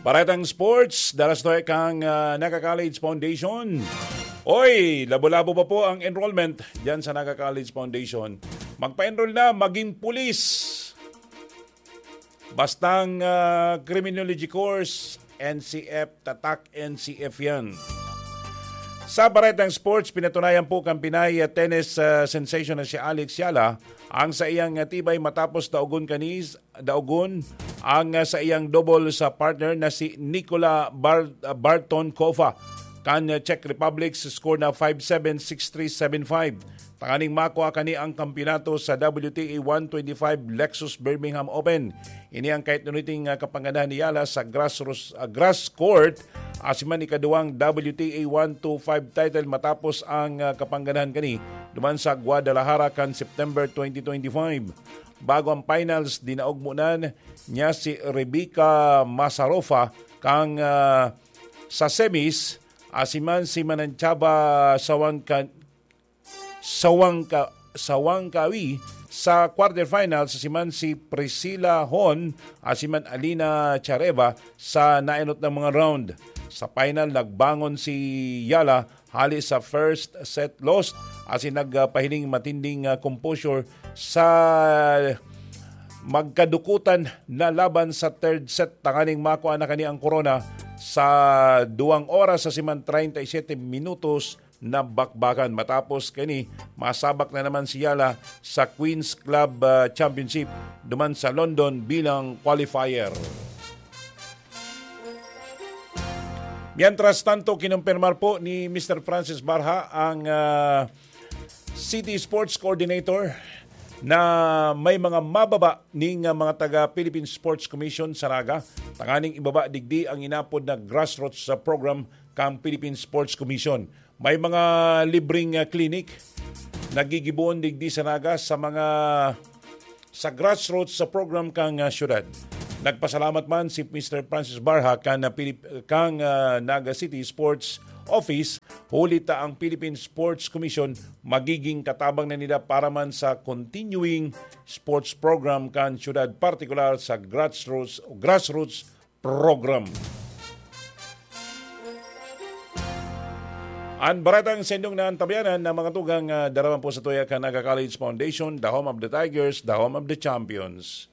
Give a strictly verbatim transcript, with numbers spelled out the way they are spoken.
Baretang sports, dalas to kang ah, Naga College Foundation. Oy, labo-labo pa po ang enrollment diyan sa Naga College Foundation. Magpa-enroll na, maging pulis. Bastang ah, criminology course, N C F, tatak N C F yan. Sa Baretang Sports, pinatunayan po kan Pinay ah, tennis ah, sensation na si Alex Yala ang sa iyang ah, tibay matapos daogon kanis, daogon ang ah, sa iyang double sa partner na si Nicola Bar- ah, Barton Kova kan ah, Czech Republic sa score na five seven, six three, seven five. Tanganing makua kani ang kampiyonato sa W T A one twenty-five Lexus Birmingham Open. Ini ang kaitnuniting ah, kapangganahan ni Yala sa grassroots, ah, grass court, asiman ikaduwang W T A one twenty-five title matapos ang ah, kapangganahan kani duman sa Guadalajara kan September twenty twenty-five. Bago ang finals, dinaog munan niya si Rebecca Masarofa kang ah, sa semis, asiman si Mananchaba Sawangka, Sawangka, Sawangkawi sa quarterfinals, asiman si Priscilla Hon, asiman Alina Chareva sa naenot na mga round. Sa final, nagbangon si Yala hali sa first set lost, asin nagpahiling matinding ah, composure sa magkadukutan na laban sa third set tanganing makua na kani ang korona sa duwang oras asiman treinta y siete minutos na bakbakan. Matapos kani, masabak na naman si Yala sa Queens Club ah, Championship duman sa London bilang qualifier. Mientras tanto, kinumpirmar po ni Mister Francis Barha ang ah, City Sports Coordinator na may mga mababa ning ah, mga taga Philippine Sports Commission sa Naga tanganing ibaba digdi ang inapod na grassroots sa program kang Philippine Sports Commission. May mga libreng ah, clinic nagigibohon digdi sa Naga sa mga sa grassroots sa program kang ah, syudad. Nagpasalamat man si Mister Francis Barha kan ah, Pilip- kang ah, Naga City Sports Office, huli ta ang Philippine Sports Commission magiging katabang na nila para man sa continuing sports program kan syudad, partikular sa grassroots grassroots program. An baratang sendong na antabayanan na mga tugang ah, daraman po sa tuya kan Naga College Foundation, the home of the Tigers, the home of the champions.